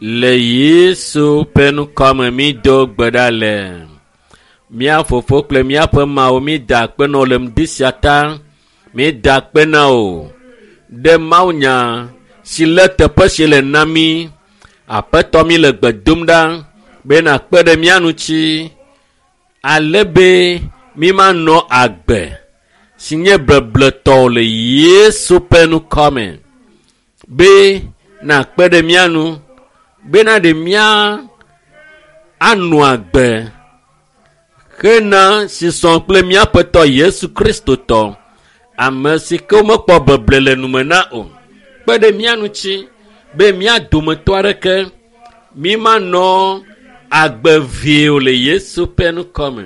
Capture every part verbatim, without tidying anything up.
Le Yesu ƒe ŋkɔme mído gbe ɖa le. Mía fofo kple míaƒe Mawu, mída akpe na wò le ŋdi sia ta. Mída akpe na wò ɖe mawunya si le teƒe si le na mí. Aƒetɔ mí le gbe dom ɖa be nàkpe ɖe mía ŋuti ale be mímanɔ agbe si nye bebletɔ le Yesu ƒe ŋkɔme. Be nàkpe ɖe mía ŋu bena ɖe mía anɔ agbe hena si sɔ kple míaƒe tɔ Yesu Kristo tɔ, ame si ke womekpɔ beble le nume na o. Kpe ɖe mía ŋuti be mía dometɔ aɖeke mímanɔ agbe vie o le Yesu ƒe ŋkɔme.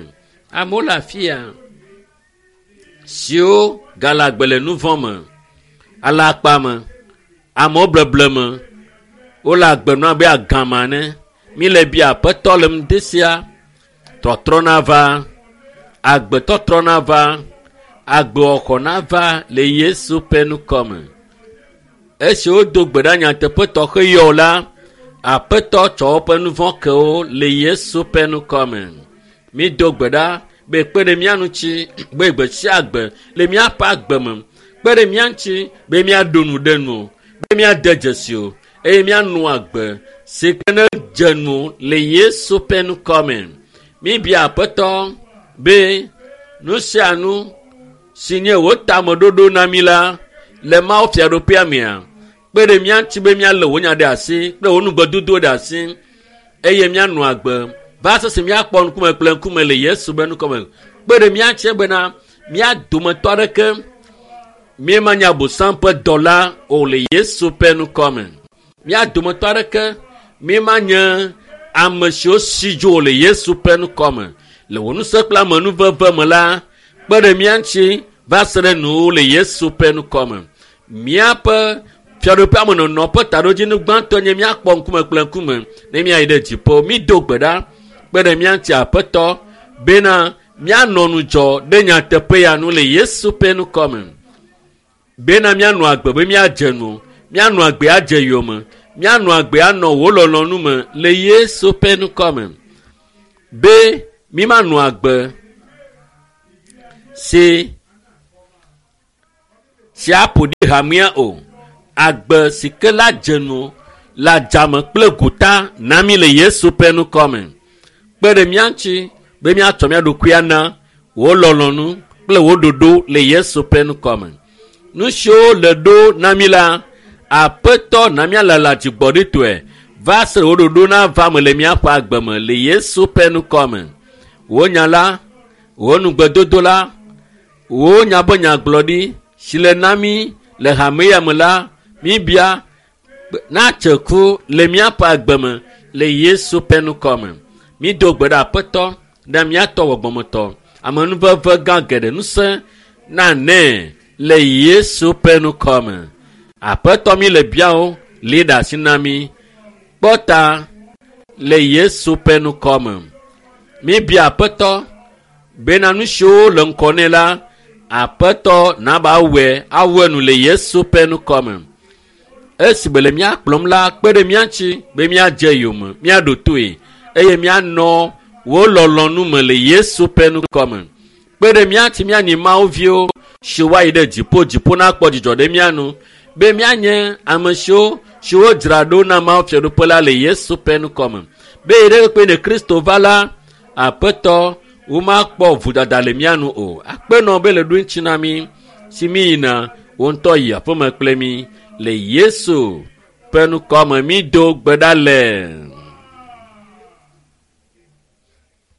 Amewo le afi ya siwo gale agbe le nu vɔ̃ me, alakpa me, amewo bleble me, wole agbe nɔm abe agama ene. Míle bia Aƒetɔ le ŋdi sia, tɔtrɔ nava, agbetɔtrɔ nava, agbewɔxɔ nava le Yesu ƒe ŋkɔme. Esi wodo gbe ɖa nyateƒe tɔxɛ yɔ la, Aƒetɔ tsɔ woƒe nu vɔ̃ ke wo le Yesu ƒe ŋkɔme. Mído gbe ɖa be kpe ɖe mía ŋuti be gbe sia gbe le míaƒe agbe me. Kpe ɖe mía ŋuti be míaɖo nu ɖe nu o, be míade dzesi o eye míanɔ agbe si ke ne dze nu le Yesu ƒe ŋkɔme. Míbia Aƒetɔ be nu sia nu si nye wò tameɖoɖo na mí la le Mawu fiaɖuƒea mea, kpe ɖe mía ŋuti be míalé wò nya ɖe asi kple wò nugbedodo ɖe asi eye míanɔ agbe va sese míakpɔ ŋkume kple ŋkume le Yesu ƒe ŋkɔme. Kpe ɖe mía ŋuti bena mía dometɔ aɖeke míemanye Abosam ƒe dɔla o le Yesu ƒe ŋkɔme. Mía dometɔ aɖeke míemanye ame siwo si dzo o le Yesu ƒe ŋkɔme. Le wò ŋusẽ kple amenuveve me la, kpe ɖe mía ŋuti va se ɖe nuwò le Yesu ƒe ŋkɔme. Míaƒe fiaɖuƒea me nɔnɔ ƒe taɖodzinu gbãtɔ nye míakpɔ ŋkume kple ŋkume ne míayi ɖe dziƒo. Mído gbe ɖa kpe ɖe mía ŋuti Aƒetɔ bena míanɔ ŋudzɔ ɖe nyateƒe ya nu le Yesu ƒe ŋkɔme. Bena míanɔ agbe be míadze nu, míanɔ agbe adze yome, míanɔ agbe anɔ wò lɔlɔ̃nu me le Yesu ƒe ŋkɔme. Be mímanɔ agbe si si aƒo ɖi hamea o. Agbe si ke la dze nu le adzame kple gota na mí le Yesu ƒe ŋkɔme. Kpe ɖe mía ŋuti be míatsɔ mía ɖokui ana wò lɔlɔ̃nu kple wò ɖoɖo le Yesu ƒe ŋkɔme. Nu siwo le ɖo na mí la, Aƒetɔ na míalala dzigbɔɖitɔe va se wò ɖoɖo nava me le míaƒe agbe me le Yesu ƒe ŋkɔme. Wò nya la, wò nugbedodo la, wò nya be nyagblɔɖi si le na mí le hame ya me la, míbia natse ku le míaƒe agbe me le Yesu ƒe ŋkɔme. Mído gbe ɖe Aƒetɔ ɖe míatɔ gbɔgbɔmetɔ amenuveve gã geɖe ŋusẽ nanɛ le Yesu ƒe ŋkɔme. Aƒetɔ mi le biawo li ɖe asi na mí. Kpɔ ta le Yesu ƒe ŋkɔme. Míbia Aƒetɔ bena nu siwo le ŋkɔ nɛ la, Aƒetɔ naba awɔe awɔe nu le Yesu ƒe ŋkɔme. Esi be le mía kplɔm la, kpe ɖe mía ŋuti be míadze yome, míaɖo toe eye míanɔ wò lɔlɔ̃nu me le Yesu ƒe ŋkɔme. Kpe ɖe mía ŋuti míanyi Mawu viwo si woayi ɖe dziƒo, dziƒo nakpɔ dzidzɔ ɖe mía nu be míanye ame siwo siwo dzra ɖo na Mawu fiaɖuƒe la le Yesu ƒe ŋkɔme. Be yi ɖe kpe ne Kristo va la, Aƒetɔ womakpɔ vodada le mía nu o. Akpenɔ be le ɖo ŋuti na mí si mí yina wò ŋutɔ yi aƒeme kple mí le Yesu ƒe ŋkɔme mído gbe ɖa le.